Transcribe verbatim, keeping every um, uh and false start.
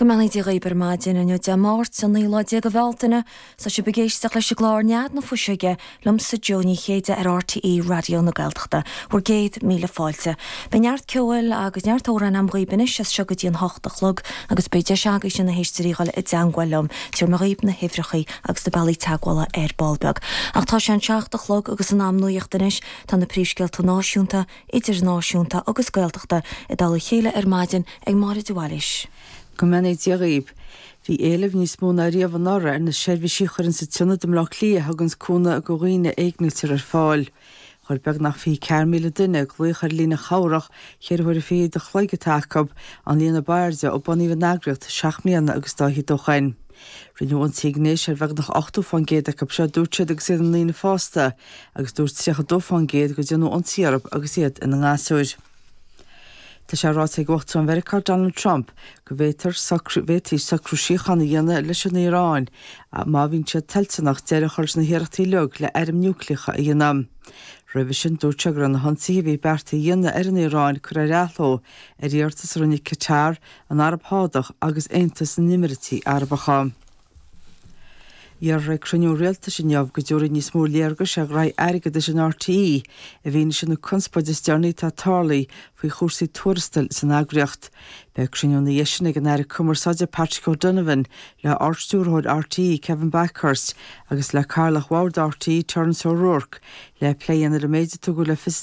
Go mbeannaí Dia dhaoibh ar maidin inniu Dé Máirt an naoú lá déag de Bhealtaine. Tá sibh ag éisteacht leis an gclár Nead na Fuiseoige liomsa Jó Ní Chéide ar RTÉ Raidió na Gaeltachta. Bhur gcéad míle fáilte. Beidh neart ceoil agus neart amhrán agam dhaoibh anois as seo go dtí an hocht a chlog agus beidh deis agaibhse na héisteoirí dhul i dteangmháil liom. Tabharfaidh mé dhaoibh na huimhreacha agus na bealaí teagmhála ar ball beag. Ach tá sé an seacht a chlog agus in am nuachta anois tá na príomhscéalta náisiúnta, idirnáisiúnta agus Gaeltachta i dtoll a chéile ar maidin ag Máire de Bhailís. Go mbeannaí Dia dhaoibh. Bhí éileamh níos mó ná riamh anuraidh ar na seirbhísí a chuireann an tIonad i mBleá Cliath a thuganns cúnamh do dhaoine a éignítear ar fáil. Chuir beagnach fiche ceathair míle duine glaoch ar líne chabhrach cheithre huaire fichead a chloig atá acu, an líon ab airde ó bunaíodh an eagraíocht seacht mbliana agus dá fhichead ó shoin. Rinneadh ionsaí gnéis ar bheagnach ochtó fán gcéad acu seo, dúirt siad agus iad ina ndaoine fásta, agus dúirt tríocha dó fán gcéad go déanadh ionsaí orthu agus iad ina ngasúir. Tá sé ráite ag Uachtarán Mheiriceá Donald Trump go bhféadfar bhféadfaí socrú síochána a dhéanamh leis an Iaráin má bhíonn siad toilteanach deireadh a chur leis na hiarrachtaí uilig le airm núicléacha a dhéanamh. Roimhe sin dúirt sé go raibh na hionsaithe a bhí beartaithe a dhéanamh ar an Iaráin curtha ar athló ar iarratas a rinne Qatar, an Araib Shádach agus Aontas na nÉimíríochtaí Arabacha. Iarrthar ag cruinniú rialtais inniu go dtabharfaí níos mó léargais ar ghraithí airgeadais in RTÉ i bhfianaise na conspóide is deireanaí atá tarlaithe faoi chúrsaí tuarastail san eagraíocht. Beidh cruinniú ina dhiaidh sin ag an Aire Cumarsáide Patrick O'Donovan le Ardstiúrthóir RTÉ Kevin Bakhurst agus le Cathaoirleach Bhord RTÉ Terence O'Rourke le plé a dhéanamh ar an méid a tugadh le fios